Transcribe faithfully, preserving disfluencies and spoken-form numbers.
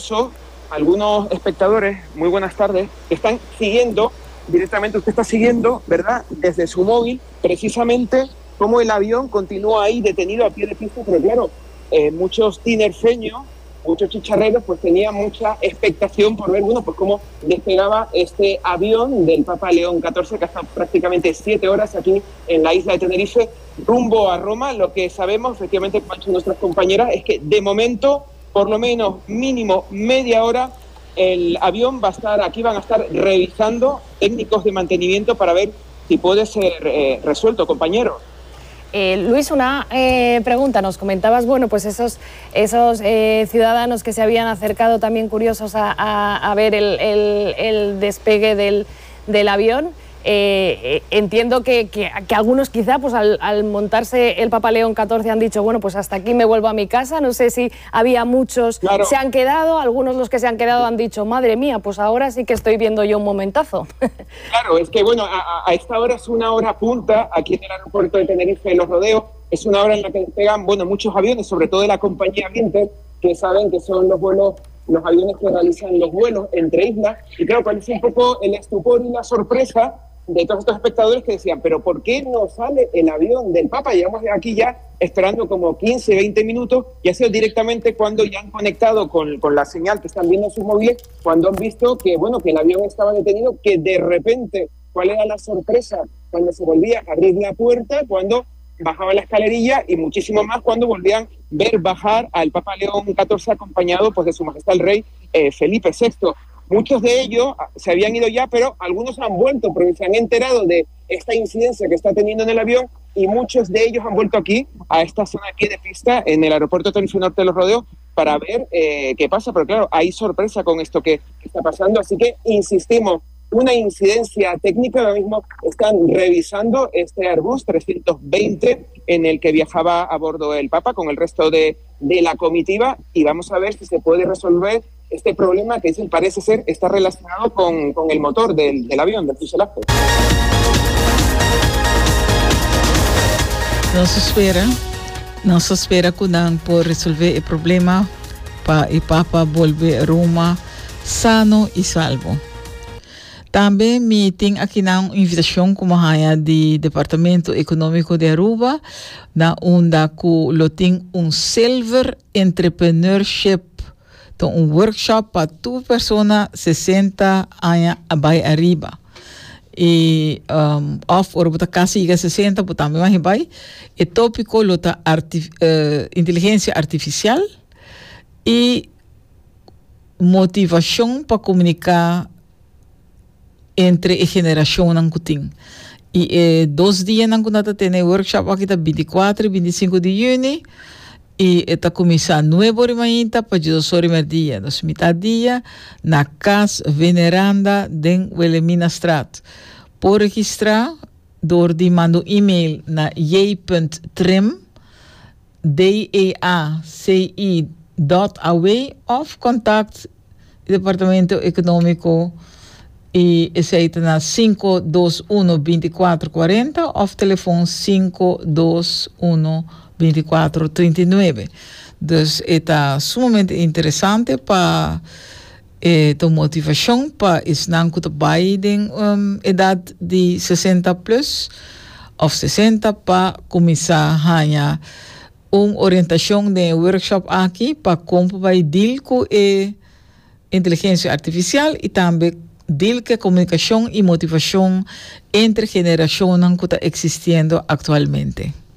Incluso algunos espectadores, muy buenas tardes, que están siguiendo directamente, usted está siguiendo, ¿verdad?, desde su móvil, precisamente cómo el avión continúa ahí detenido a pie de pista, pero claro, eh, muchos tinerfeños, muchos chicharreros, pues tenían mucha expectación por ver, bueno, pues cómo despegaba este avión del Papa León catorce, que ha estado prácticamente siete horas aquí en la isla de Tenerife, rumbo a Roma. Lo que sabemos, efectivamente, como han dicho nuestras compañeras, es que de momento, por lo menos mínimo media hora, el avión va a estar aquí, van a estar revisando técnicos de mantenimiento para ver si puede ser eh, resuelto, compañero. Eh, Luis, una eh, pregunta. Nos comentabas, bueno, pues esos, esos eh, ciudadanos que se habían acercado también curiosos a, a, a ver el, el, el despegue del, del avión. Eh, entiendo que, que, que algunos quizá, pues al, al montarse el Papa León catorce han dicho: "Bueno, pues hasta aquí, me vuelvo a mi casa". No sé si había muchos, claro. se han quedado, algunos, los que se han quedado, han dicho: "Madre mía, pues ahora sí que estoy viendo yo un momentazo". Claro, es que, bueno, a, a esta hora es una hora punta aquí en el aeropuerto de Tenerife, Los Rodeos, es una hora en la que despegan, bueno, muchos aviones, sobre todo de la compañía Binter, que saben que son los vuelos los aviones que realizan los vuelos entre islas, y claro, cuál es un poco el estupor y la sorpresa de todos estos espectadores que decían: "Pero ¿por qué no sale el avión del Papa? Llevamos aquí ya esperando como quince, veinte minutos", y ha sido directamente cuando ya han conectado con, con la señal que están viendo en sus móviles, cuando han visto que, bueno, que el avión estaba detenido, que de repente, ¿cuál era la sorpresa? Cuando se volvía a abrir la puerta, cuando bajaba la escalerilla y muchísimo más cuando volvían a ver bajar al Papa León catorce acompañado, pues, de su Majestad el Rey eh, Felipe sexto. Muchos de ellos se habían ido ya, pero algunos han vuelto porque se han enterado de esta incidencia que está teniendo en el avión y muchos de ellos han vuelto aquí, a esta zona aquí de pista, en el aeropuerto Tenerife Norte de Los Rodeos, para ver eh, qué pasa. Pero claro, hay sorpresa con esto que está pasando, así que insistimos, una incidencia técnica. Ahora mismo están revisando este Airbus trescientos veinte en el que viajaba a bordo el Papa con el resto de, de la comitiva y vamos a ver si se puede resolver este problema que dicen parece ser está relacionado con, con el motor del, del avión, del fuselaje. Nos ta spera, nos ta spera ku nan por resolvé e problema pa e Papa bolbe Roma sano i salvo. Tambe mi tin aki un invitashon ku mi di Departamento Ekonómiko di Aruba, na unda ku lo tin un Silver Entrepreneurship, anto, un workshop pa tur persona sesenta aña bai ariba. I um, of ora bo ta kasi yega sesenta, bo tambe mag bai. E tópiko lo ta arti, uh, inteligensia artifisial i motivashon pa komuniká entre e generashonnan ku tin. I eh, dos dianan ku nan ta tene workshop aki ta binti kuater i binti sinku di yüni i ta kuminsá nuebe or mainta pa dos or mèrdia, dus mitar dia, na Cas Veneranda den Wilhelminastraat. Por registrá dor di manda e-mail na j punt trim d e a c i dot a w of contact Departamento Ekonómiko i esei ta na sinku dos un binti kuater kuarenta of telefon sinku dos un binti kuater trinta i nuebe. Dus ta sumamente interesante pa eh, e motivashon pa esnan ku ta bai den um, edat di sesenta plus of sesenta pa kuminsá haña un orientashon di workshop aki pa kon bai deal ku e inteligensia artifisial i tambe deal ku komunikashon i motivashon entre generashonnan ku ta eksistiendo aktualmente.